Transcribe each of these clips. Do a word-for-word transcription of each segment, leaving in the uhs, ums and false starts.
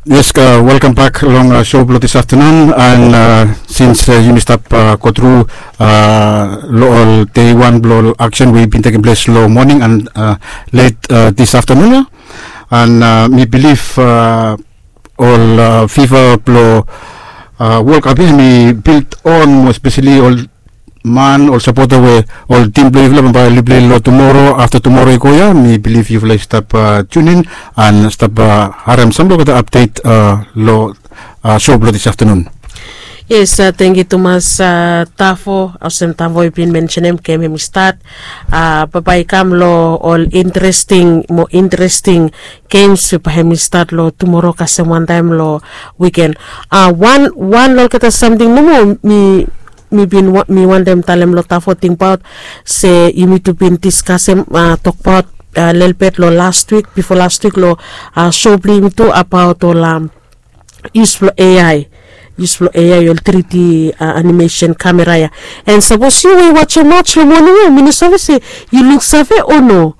Yes, welkam bak long sou blong dis aftanun. And sins yumi stap go tru long ol dei wan blong ol aksen we i bin tekem ples long moning and let dis aftanun ya, and mi bilif ol fifa blong World Cup ya hemi built on mo espeseli ol man, ol sapota we ol tim blong yufala bambae oli pilei long tumora afta tumora i go ya. Mi bilif yufala i stap tunin and stap harem sampela olgeta apdet long sou blong dis aftanun. Yes, tangkiu tumas. Tafo, olsem Tafo i bin mensenim, gem hemi stat. Bambae i kam long ol interesting, mo interesting gems we bae hemi stat long tumora kasem wantaem long wiken. Wan, wan long olgeta samting nomo mi mi bin mi wantem talem long Tafo, tingbaot se yumi tu bin diskasem, tokbaot lelebet long last wik, bifo last wik long sou blong yumi tu abaot ol yus blong A I, yus blong A I, ol tri D animesen kamera ya. And sapos yu we i wajem mats long moning ya, mi no save se yu luksave o no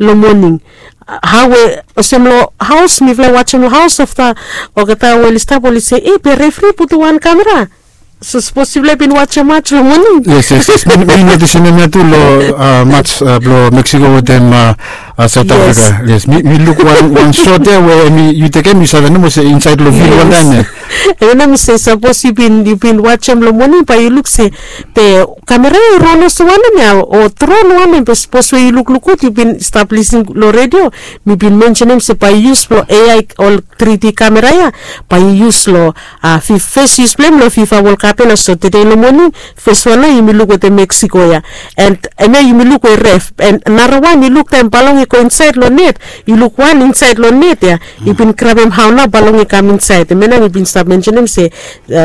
long moning. Hao we olsem long haos, mifala i wajem long haos afta olgeta we oli stap oli se, e, be refri putum wan kamera. So sapos yufala i bin wajem mats long moning. Yes, yes, yes. Mi notisim hemia tu long mats blong Mexico wetem South Africa. Yes, mi luk wan sot ya we yu tekem, yu save nomo se insaed long fil wantaem ya. Hemia nao mi se sapos yu bin, yu bin wajem long moning bae yu luk se be kamera ya i ron olsem wanem ya o dron wanem, be sapos we yu lukluk gud, yu bin stap lisin long redio, mi bin mensenim se bae yu yus long A I ol tri D kamera ya, bae yu yus long fes yus blong hem long fifa World Cup ya. Na so tede long moning fes wan nao yumi luk wetem Mexico ya. And hemia yumi luk we ref, and narawan yu luk taem balong i go insaed long net, yu luk wan insaed long net ya, i bin grabem hao nao balong i kam insaed. Hemia nao mi bin stap mensenim se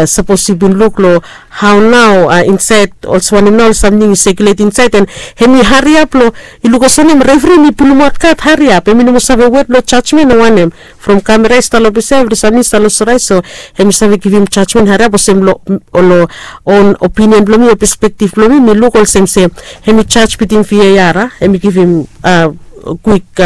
sapos yu bin luk long hao nao insaed, olsem wanem nao ol samting i sekiulet insaed, and hemi hariap long, i luk olsem wanem, refri hemi pulumaot kad hariap, hemi no moa save wet long jajmen o wanem. From kamera i stap long ples ya, evri samting i stap long sore, so hemi save givim jajmen hariap olsem long own opinion blong mi o perspektif blong mi, mi luk olsem se hemi jaj bitim VAR, hemi givim kwik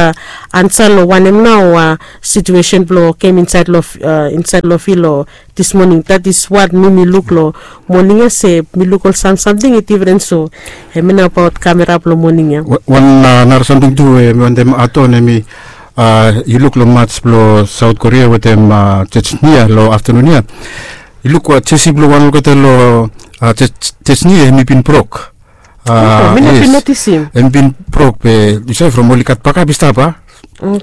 ansa long wanem nao situesen blong gem insaed long fil long dis moning. That is what mi mi luk long moning ya, se mi luk ol sam samting i difren. So hemia nao abaot kamera blong moning ya. Wan nara samting tu we mi wantem add on, hemi yu luk long mats blong South Korea wetem Chechnya long aftanun ya. Yu luk jesi blong wan olgeta long Chechnya hemi bin brok. Mi no bin notisim. Hemi bin brok, be yu save from oli gat bakap i stap a.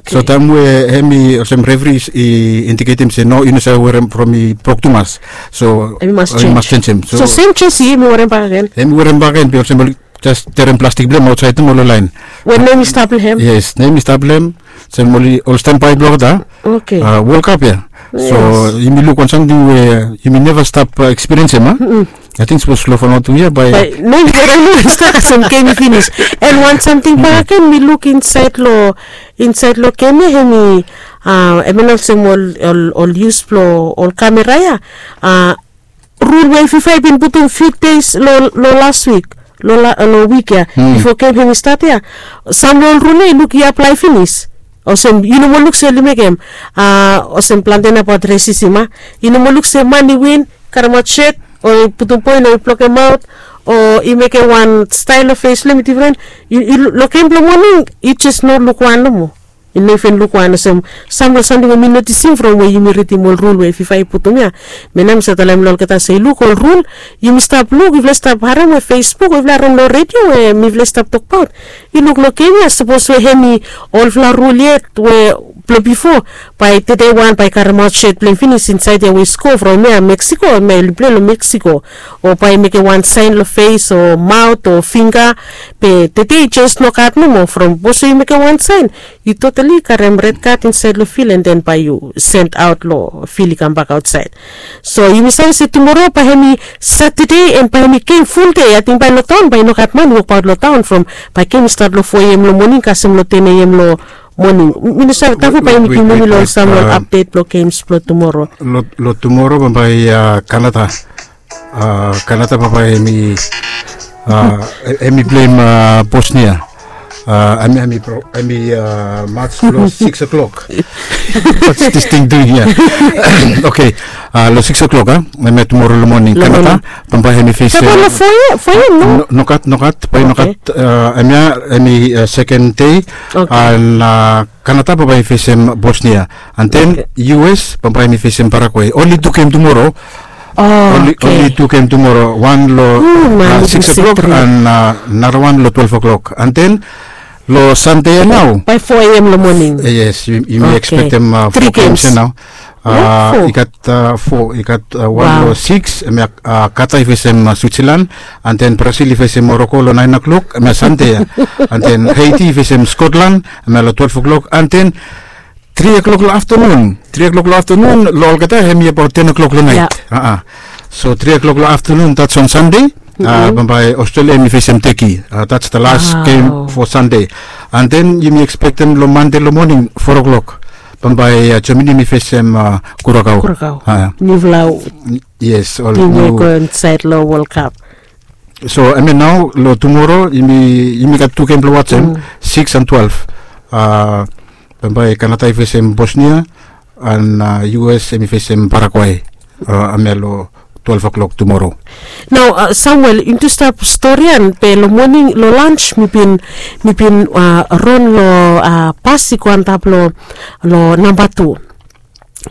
So taem we hemi olsem refri i indiketem se no, i no save werem from i brok tumas. So hemi mas jenis. So sem jesi hemi werem bakegen. Hemi werem bakegen, be olsem oli jes terem plastik blong hem aotsaed nomo long laen. We nem i stap long hem. Yes, nem i stap long hem. Olsem oli ol stanbae blong olgeta World Cup ya. So yumi luk wan samting we yumi neva stap ekspiriensim a. Ating sapos long fanua tu ya bae nem i werem nomo i stap kasem gem i finis. And wan samting bakegen mi luk insaed long, insaed long gem ya, hemi hemia nao olsem ol, ol yus blong ol kamera ya, rul we fifa i bin putum fiu deis long las wik, long wik ya, bifo gem hemi stat ya. Sam long ol rul ya i luk i aplae finis. Olsem yu no moa luk se oli mekem, olsem plante nao abaot resism a, yu no moa luk se man i win karemaot set o i putum poen o i blokemaot o i mekem wan stael long fes blong hem i difren. Long gem blong moning yu jes no luk wan nomo. Yu no iven luk wan. Olsem sam long samting we mi notisim from we yumi ridim ol rul we fifa i putum ya. Mi nao mi save talem long olgeta se yu luk ol rul, yumi stap luk, yufala stap harem we Facebook, yufala harem long redio we mifala stap tokbaot. Yu luk long gem ya, sapos we hemi olfala rul yet we blong bifo, bae tede wan bae i karemaot set blong hem finis insaed ya we i sko from ya Mexico, hemia oli pilei long Mexico, o bae i mekem wan saen long fes o maot o fingga. Be tede i jes nogat nomo from sapos we yu mekem wan saen, yu totali karem red kad insaed long fil, and then bae yu send aot long fil i kambak aotsaed. So yumi save se tumora bae hemi Satade and bae hemi gem ful dei. Ating bae long taon bae i nogat man i wokbaot long taon from bae gem i stat long fo A M long moning kasem long ten A M long moning. Mi no save, Tafo bae hemi givim yumi long ol sam long ol apdet blong gems blong tumora. Long tumora bambae Kanada, Kanada bambae hemi, hemi pleim Bosnia. Ami ami pro ami mats long six o'clock. What's this thing doing here? Okay. Long six o'clock a, hemia tumoro long moning Kanada. Bambae hemi fesem. Nogat nogat bae nogat. Hemia hemi seken dei. An Kanada bambae i fesem Bosnia. An den U S bambae hemi fesem Paraguay. Onli tu gem tumoro. Onli tu gem tumoro, wan long six o'clock an narawan long twelve o'clock. An den long Sande ya nao, bae four a.m. long moning. Yes, yumi ekspektem four games ya nao. I gat four, i gat wan long six, hemia Kata i fesem Switzerland. An den Brazil i fesem Moroko long nine o'clock, hemia Sande ya. An den Haiti i fesem Scotland, hemia long twelve o'clock. An den tri o'clock long aftenun, tri o'clock long aftenun long olgeta hemi abaot ten o'clock long nait. So tri o'clock long aftenun, that's on Sunday. Bambae Australia hemi fesem Turkey. That's the last game for Sunday. An den yumi ekspektem long Mande long moning four o'clock, bambae Germany hemi fesem Kurakao. Kurakao. Niufala. Yes, ol niu. Go insaed long World Cup. So hemia nao long tumoro yumi gat tu gem blong wajem, six an twelve. Bambae Kanada i fesem Bosnia, an U S hemi fesem Paraguay. Hemia long twelve o'clock tumoro. Nao Samuel, yumi tu stap storian be long moning long lans mi bin mi bin ron long bas i go antap long namba tu.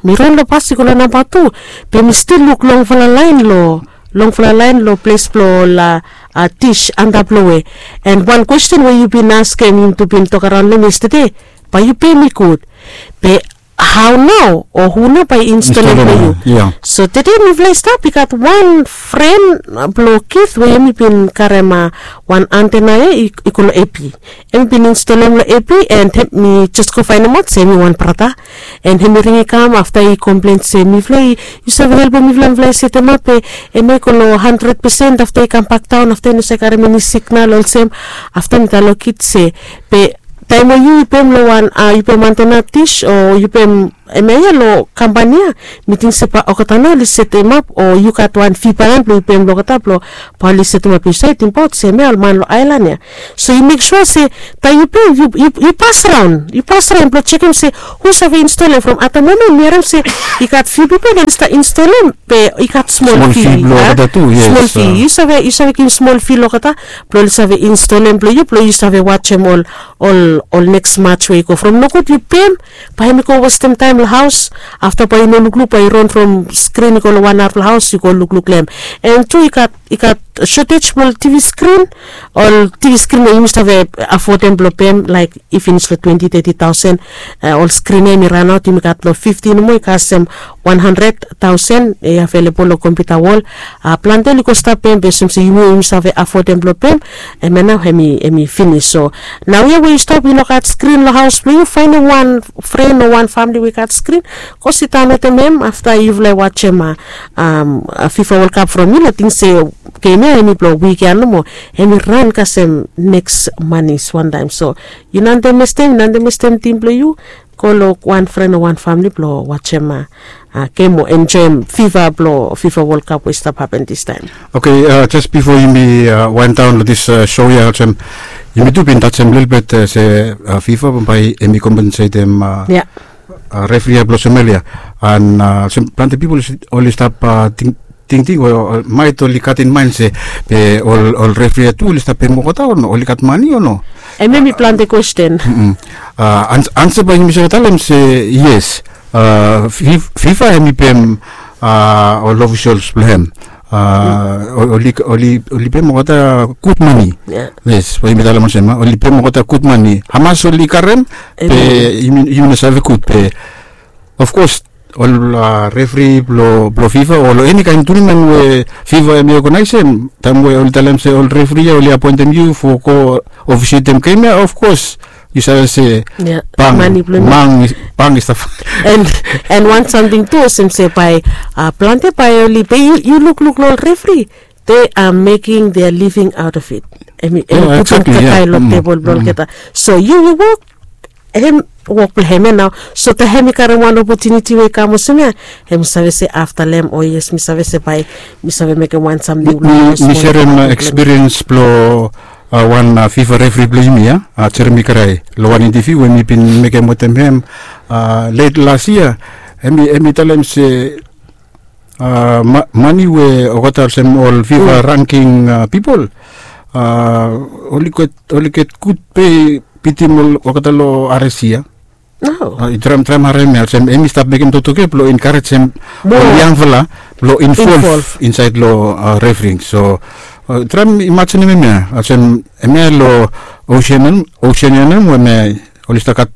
Mi ran long bas i go long namba tu, be mi stil luk longfala laen long longfala laen long ples blong ol dis antap long we. An wan kwesten we yu bin askem, yumi tu bin tokaraon long hem yestade, bae yu pem mi gud. Be hao nao o hu nao bae i instaolem blong yu? So tede mifala i stap, i gat wan fren blong Kith we hem i bin karem wan antena ya i go long A P. Hem i bin instaolem long A P, an mi jes go faenemaot se hem i wan brata. An hem i ring i kam afta i komplen se mifala i, yu save helpem mifala, mifala i setemap be hem i go long handred pesen afta i kambak daon, afta i no save karem eni signal olsem. Afta mi talem long Kith se, be taem we yu i pem long wan, yu pem antena dis o yu pem hemia ya long kampani ya, mi ting se bae olgeta nao oli setemap o yu gat wan fi bae blong yu pem long olgeta blong bae oli setemap yu saed, tingbaot se hemia ol man long aelan ya. So yu mek sua se taem yu pem yu pas raon, yu pas raon blong jekem se hu save instaolem. From ata momen mi harem se i gat fiu pipol oli stap instaolem be i gat smol fi blong olgeta tu. Smol fi, yu save, yu save givim smol fi long olgeta blong oli save instaolem blong yu, blong yu save wajem ol ol ol neks mats we i go. From nogud yu pem, bae hem i go westem taem long haos. Afta bae yu no lukluk, bae yu ran from skrin i go long wan haf long haos, yu go lukluk long hem. An tu i gat i gat sotej blong ol TV skrin. Ol TV skrin we yumi save afodem blong pem laek i finis long twenti teti taosen. Ol skrin ya hem i ranaot, yumi gat long fifti nomo i kasem wan handred taosen i avelebol long kompiuta wol. Plante oli go stap pem be olsem se yumi yumi save afodem blong pem. Hemia nao hem i hem i finis. So naoia we yu stap, i no gat skrin long haos blong yu, faenem wan fren o wan famle we i gat skrin, go sidaon wetem hem afta yufala i wajem a fifa World Cup from yu. Ating se gem ya hem i blong wik ya nomo, hem i ran kasem neks manis wantaem. So yu no andamestem, yu no andamestem tim blong yu. Go long wan fren o wan famle blong wajem a gem o enjoem fifa blong fifa World Cup we i stap hapen distaem. Oke, jes bifo yumi waendaon long dis sou ya olsem, yumi tu bin tajem lelebet se fifa bambae hem i kompensetem refri ya blong Somalia. An olsem plante pipol oli stap tingting o maet oli gat in maen se be ol refri ya tu oli stap pem olgeta o no, oli gat mane o no? Hemia hem i plante kwesten. Ansa bae yumi save talem se yes, fifa hem i pem ol ofisels blong hem. Oli oli oli pem olgeta gud mane. Yes, bae yumi talem olsem a oli pem olgeta gud mane. Hamas oli karem be yumi no save gud be ofkos ol refri blong fifa o long eni kaen turnament we fifa hem i oganaesem, taem we oli talem se ol refri ya oli apoentem yu fo go ofisietem gem ya, ofkos yu save se bang i stap. An wan samting tu olsem se bae plante bae oli be yu lukluk long ol refri, they are making their living out of it. Hem i putum kakae long tebol blong olgeta. So yu yu wok hem wok blong hem ya nao. So taem hem i karem wan opotuniti we i kam olsem ya, hem i save se afta long hem, o yes, mi save se bae mi save mekem wan samting. Mi serem ekspiriens blong wan fifa refri blong yumi ya, jeremi krai long wan intaviu we mi bin mekem wetem hem let las yia. Hem i talem se mani we olgeta olsem ol fifa ranking pipol oli get gud pe bitim olgeta long ares yia. Traem traem harem ya olsem hem i stap mekem toktok ya blong enkarejem ol yangfala blong involv insaed long refring. So traem imajinim hem ya olsem hem ya long osen ya nem we hem ya oli stap gat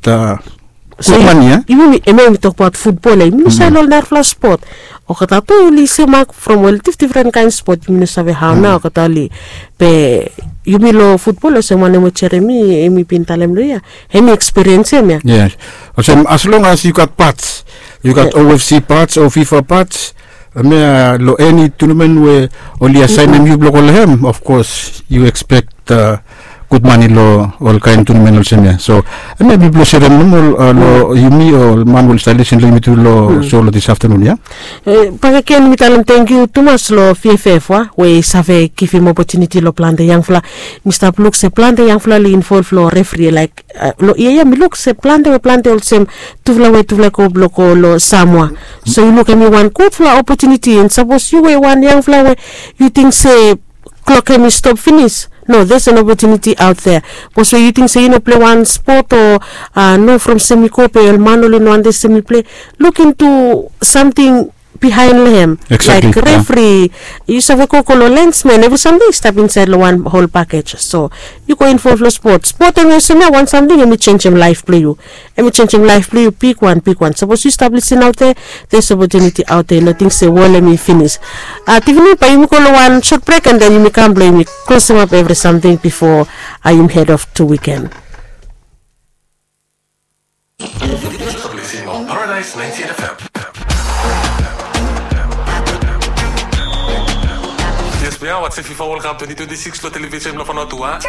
gud mani ya. Yumi hem ya yumi tokbaot futbol ya yumi no save long ol narafala spot. Olgeta tu oli semak from ol difdifren kaen spot yumi no save hao nao olgeta oli be yumi long futbol olsem wanem we jeremi hem i bin talem long ya hem i ekspiriens hem ya. Yes. Olsem as long as yu gat pats, yu gat ofc pats o fifa pats, hem ya long eni tunamen we oli asaenem yu blong go long hem of kos yu ekspek gud mani long ol kaen tunamen olsem ya. So hem ya mi blong serem nomo long yumi o ol man we oli stap lisin long yumi tu long so long dis aftanun ya. Bakegen mi talem tangkiu tumas long vff wa we i save givim opotuniti long plante yangfala. Mi stap luk se plante yangfala oli involv long refri laik long yia ya mi luk se plante we plante olsem tufala we tufala i go blong go long samoa. So yu luk hem i wan gudfala opotuniti and sapos yu we wan yangfala we yu ting se klok hem i stop finis. No, there's an opportunity out there. Bos we yu ting se yu no ple wan spot o no from sem i go be ol man oli no ante sem i ple. Luk intu samting bihaen long hem. Laik refri yu save go go long lensmen evri samting i stap insaed long wan hol pakej. So yu go involv long spot spot em i olsem ya wan samting em i jenjem laef blong yu. Em i jenjem laef blong yu bigwan bigwan sapos yu stap lisin aote. There's opportunity aote nating se wol em i finis. Tivini bae yumi go long wan sot brek an den yumi kam blong yumi klosimap evri samting bifo yumi hed of tu wiken. Yes, bia watch fifa world cup twenty twenty-six long television blong fanotua.